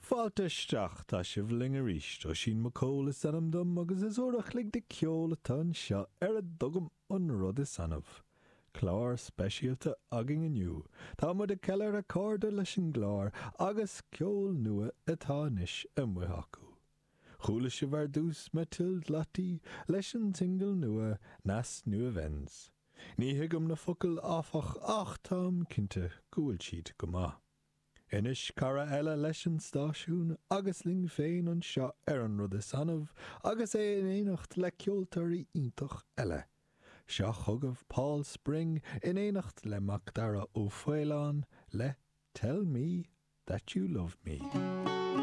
Fáilte isteach, tá sibh linn arís. Oisín Mac Cóil is ainm dom agus is uair a chloig de ceol atá anseo ar a dtugaim An Rud Is Annamh. Clár speisialta againn inniu. Tá muid ag ceiliúradh cairde leis an gclár agus ceol nua atá anois amuigh acu. Chuala sibh ar dtús Mathilde Lottie leis an singil nua Nas Nuevens. Ní thuigim na focail áfach ach táim cinnte go bhfuil siad go maith. Anois cara eile leis an stáisiún agus linn féin anseo ar An Rud Is Annamh agus é in éineacht le ceoltóirí iontach eile. Seo chugaibh Paul Spring in éineacht le Macdara Ó Faoláin le Tell Me That You Love Me.